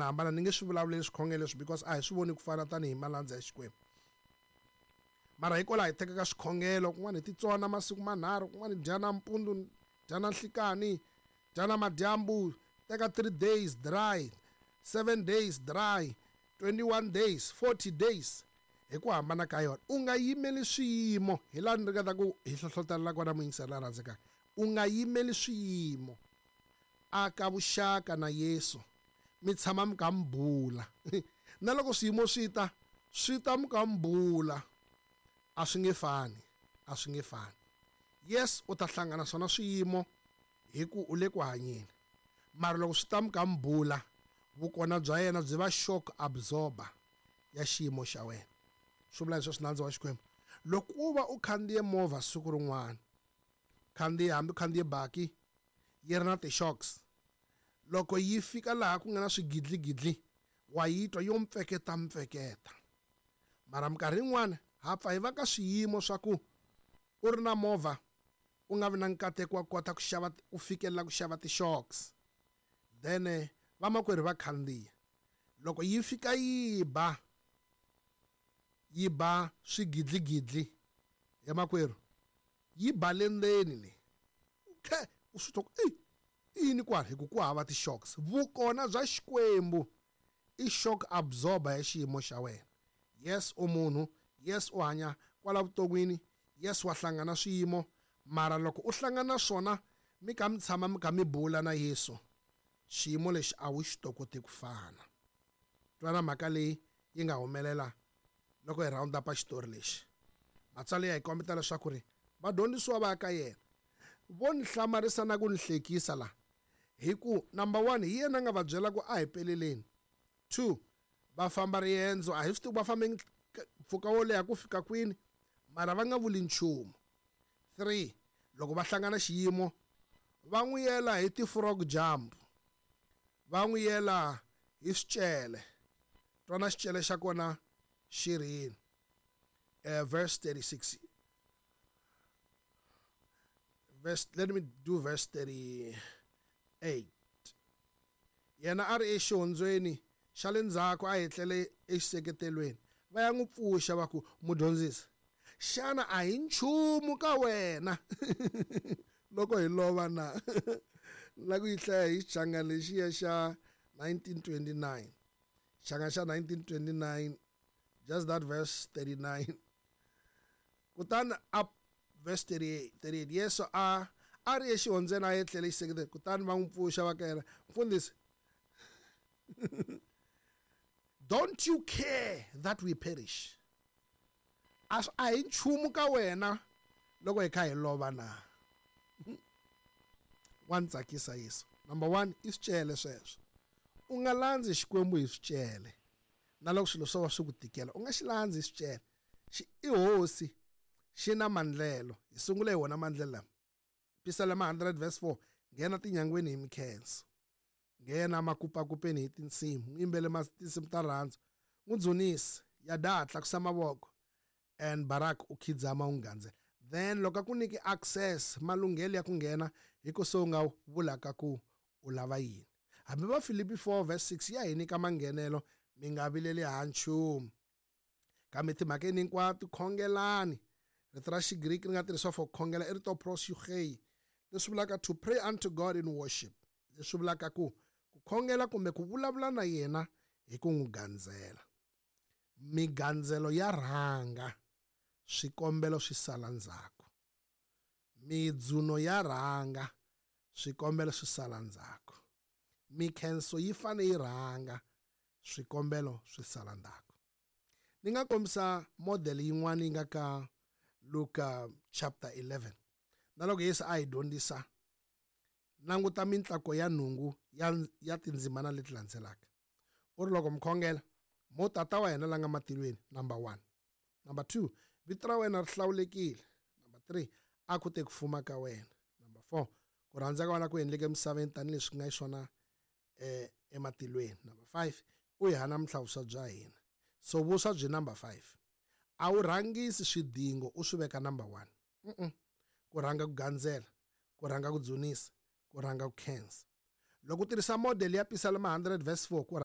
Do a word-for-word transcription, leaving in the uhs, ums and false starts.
hambanahambana ni nge swi vulavuleli swikhongelo leswi because a hi swi voni ku fana tanihi malandza ya Xikwembu. Mara hikwalaho hi tekaka swikhongelo, kun'wana hi titsona masiku manharhu, kun'wana hi dya nampundzu, dya na nhlikani, dya na madyambu, teka three days dry, seven days dry, twenty-one days, forty days, hi ku hambana ka yona. U nga yimeli swiyimo, hi laha ni ringeta ku hi hlohlotelela kona muyingiseri la rhandzekaka. U nga yimeli swiyimo, aka vuxaka na Yesu, mi tshama mi kha mi bula. Na loko swiyimo swi ta, swi ta mi kha mi bula, a swi nge fani, a swi nge fani. Yes, u ta hlangana swona swiyimo hi ku u le ku hanyeni, mara loko swi ta mi kha mi bula, vukona bya yena byi va shock absorber ya xiyimo xa wena. Swi vula leswi nandzu wa Xikwembu. Loko u va u khandziye movha siku rin'wana, khandziye hambi khandziye baki yi ri na ti-shocks, loko yi fika laha ku nga na swigidligidli wa yi twa yo mpfeketa mpfeketa. Mara minkarhi yin'wana ha pfa hi va ka swiyimo swa ku u ri na movha u nga vi na nkateko wa kota ku xava, ku fikelela ku xava ti-shocks, then vamakwerhu va khandziya, loko yi fika yi ba yi ba swigidligidli ya makwerhu, yi ba le ndzeni le, khe u swi twa ku i yini kwala, hi ku ku hava ti-shocks. Vukona bya Xikwembu i shock absorber ya xiyimo xa wena. Yes, u munhu, yes, u hanya kwala vuton'wini, yes, wa hlangana swiyimo, mara loko u hlangana swona mi kha mi tshama mi kha mi bula na Yesu, xiyimo lexi a wu xi tokoti ku fana. Twana mhaka leyi yi nga humelela loko hi round up xitori lexi. Matsalwa ya hi kombeta leswaku ri vadyondzisiwa va ka yena vo ni hlamarisa na ku ni hlekisa la, hi ku number one, hi yena a nga va byela ku a hi peleleni. Two, va famba riendzo, a hi swi tivi va fambe mpfhuka wo leha ku fika kwini, mara va nga vuli nchumu. Three, loko va hlangana xiyimo va n'wi yela hi ti-frog jump, va n'wi yela hi swicele. Twana xicele xa kona xi ri yini? Uh, verse thirty-six. Verse, let me do verse thirty-eight. Yena a ri exihondzweni xa le ndzhaku, a etlele exiseketelweni. Va ya n'wi pfuxa va ku, mudyondzisi, xana a hi nchumu ka wena loko hi lova na? La ku yi hlaya hi xichangani lexiya xa nineteen twenty-nine. Xichangani xa nineteen twenty-nine, just that verse thirty-nine. Kutani a verse thirty-eight, thirty-eight, Yesu a a ri exihondzweni a etlele xiseketelo, kutani va n'wi pfuxa va ka yena, mfundhisi, don't you care that we perish? A a hi nchumu ka wena loko hi kha hi lova na? Wa ni tsakisa Yesu. Number one, i swicele sweswo. U nga landzi Xikwembu hi swicele. Na loko swilo swo va swi ku tikela, u nga xi landzi hi swicele. Xi i hosi, xi na mandlelo. Hi sungule hi wona mandlelo lama. Pisalema hundred verse four, nghena tinyangweni hi mikhenso, nghena makupakupeni hi tinsimu, n'wi yimbele tinsimu ta rirhandzu, n'wi dzunise, yada tlakusa mavoko, and Barak u khidzama u gandzela. Then loko a ku nyiki access, malunghelo ya ku nghena, hi ku se u nga vulaka ku u lava yini. Hambi va Filipi four verse six ya hi nyika manghenelo, mi nga vileli ha nchumu, kambe timhakeni hinkwato khongelani. Rito ra Xigriki ri nga tirhisiwa for khongela i rito proseuchei, leswi vulaka to pray unto God in worship, leswi vulaka ku ku khongela kumbe ku vulavula na yena hi ku n'wi gandzela. Migandzelo ya rhanga, swikombelo swi sala ndzhaku. Midzuno ya rhanga, swikombelo swi sala ndzhaku. Mikhenso yi fane yi rhanga, swikombelo swi sala ndzhaku. Ni nga kombisa model yin'wana yi nga ka Luka chapter eleven. Na loko Yesu a hi dyondzisa, languta mintlako ya nhungu ya, ya tindzimana leti landzelaka. U ri loko mi khongela, mo tata wa hina la nga matilweni, number one. Number two, vito ra wena ri hlawulekile. Number three, a ku te ku fuma ka wena. Number four, ku rhandza ka wena ku endleke emisaveni tanihileswi ku nga xiswona eh, ematilweni. Number five, u hi hana namuntlha vuswa bya hina. So vuswa byi number five. A wu rhangisi swidingo u swi veka number one. Mm-mm. Ku rhanga ku gandzela, ku rhanga ku dzunisa, ku rhanga ku khensa. Loko u tirhisa model ya Pisalema hundred verse four, ku